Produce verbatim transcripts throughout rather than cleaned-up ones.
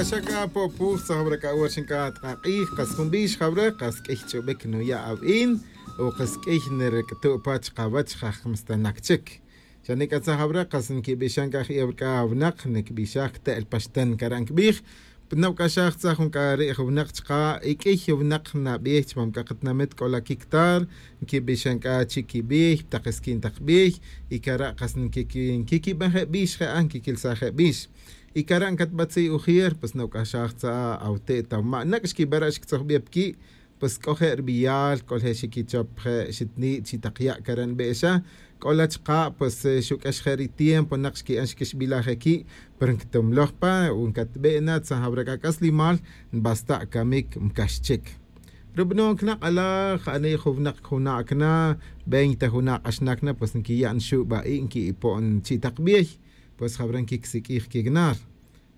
Kashaka popuj sabra ka washinka tqaq'ij qas jun b'ix jabra qas k'iy ch'ub'ik nuya' ab'in o qas k'iy nirk'tu' pach qawach jaj mistanak chik xanik'atzaj jabra qas nkib'ixan k'aj iwrk'a wnaq nikb'ixaj te'l paxten karan kb'ij nawk'axaj tzaj jun k'a ri'j wnaq chqa ik'iy wnaq nab'ij chpam k'a qatinamit k'o la kiktar nkib'ixan k'a chikib'iy taq esquin taq b'iy y kara' qas nkikib'an je' b'ix je'aj nkikilsaj je' b'ix y kara' nkatb'atzi ujier pues nawk'axaj tza awte' tawma' nak' xkib'era' xkitzojb'ej pki' pues k'o je' rb'ial k'o je' xikichop je' xitni' chi taq ya' kara' nb'exa k'o la chqa pues xuk'ex je' ri tiempo naq xki'an xkixb'ilaj je' ki' pero nktumloj pa o nkatb'e'na tzajab'ra k'ak'aslimal nb'asta kamik mkax chik rub'non knaq' alaj ani juwnaq juna' kna veinte juna' q'axnaq na pues nkiya' nxub'a'i' nki'po'n chi taq b'iy pues jab're nkiksik'ij kignar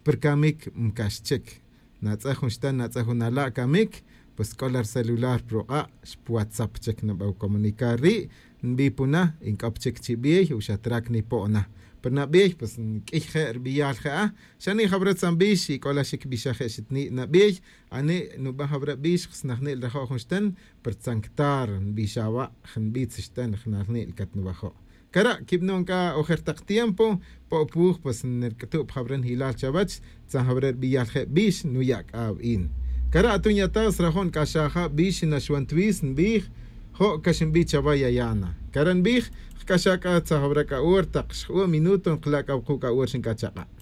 per kamik mkax chik natz'ej jun xten natz'ej jun ala' kamik pues k'o la rcelular pruq'a' xpwhatsap chik nb'an comunicar ri' nb'ipuna ink'op chik chi b'iy o xatrak nipo'na per nab'ey pues k'iy je' rb'iyal je'aj xani jab're tzamb'ix y k'o la xikb'ixaj je' xitni' nab'ey ani nub'an jab're b'ix qsnajni'l rajo' jun xten per tzanktar nb'ixawa' jnb'itz xten jnalni'l katnwajo' kara' kib'non k'a ojer taq tiempo po'puj pues nirk'tu' pjab're njilal chawach tzaj jab're rb'iyal je' b'ix nuya' k'a b'in kara' atuñatas rajo' nk'axaja b'ix naxwan twis nb'ij jo' kaxinb'i chawa yayana kara' nb'ij jk'axa k'a tzajab'ra k'a ur taq xju' minuto nqla' k'a wuqub' k'a ur xink'a chaq'ab'.